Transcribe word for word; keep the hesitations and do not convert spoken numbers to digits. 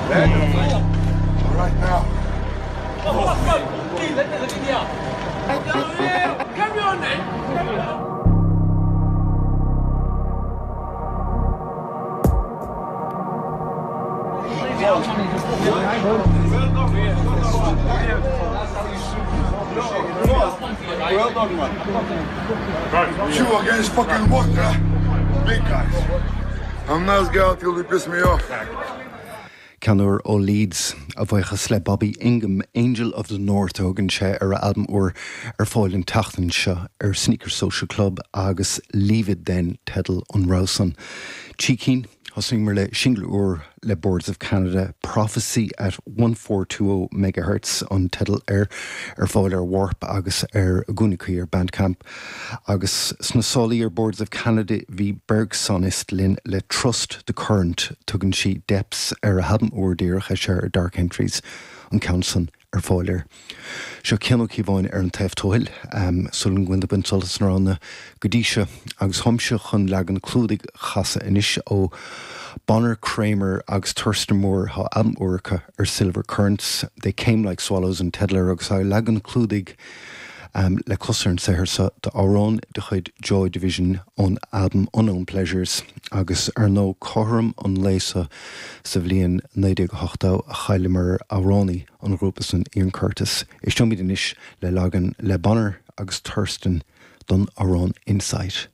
All right now. Well done, man. Two against fucking one, huh? Big guys. I'm nice guy till they piss me off. Ceann úr ó Leeds, a bhuíochas le Bobby Ingham, Angel of the North a thugann sé ar a albam úr ar fáil an tseachtain seo ar Sneaker Social Club agus Leave It Then teideal an rogha san. Trí cinn, thosaíomar le singil úr le Boards of Canada, Prophecy at one four two oh megahertz an teideal air, ar fáil ar Warp agus ar a gcúnamh cuí ar Bandcamp. Agus sna sálaí ar Boards of Canada bhí Bergsonist linn le Trust the Current, tugann sí Depths ar a halbam úr díreach eisithe ar Dark Entries, an ceann san ar fáil air. Seo Cian Ó Cíobháin ar an taobh tuathail, sula ngabhann bain sult as na roghanna go dtí seo, agus táimse chun leagan clúdaigh a chasadh anois ó Bonner Kramer agus Thurston Moore, tá albam úr acu ar Silver Currents, They Came Like Swallows an teideal air, agus tá leagan clúdaigh le clos ar an saothar seo d'amhrán de chuid Joy Division ón albam Unknown Pleasures, agus ar ndóigh cothrom an lae seo sa bhliain naoi déag a hochtó a chailleamar amhránaí an ghrúpa san, Ian Curtis. Éisteoimid anois le leagan le Bonner agus Thurston don amhrán Insight.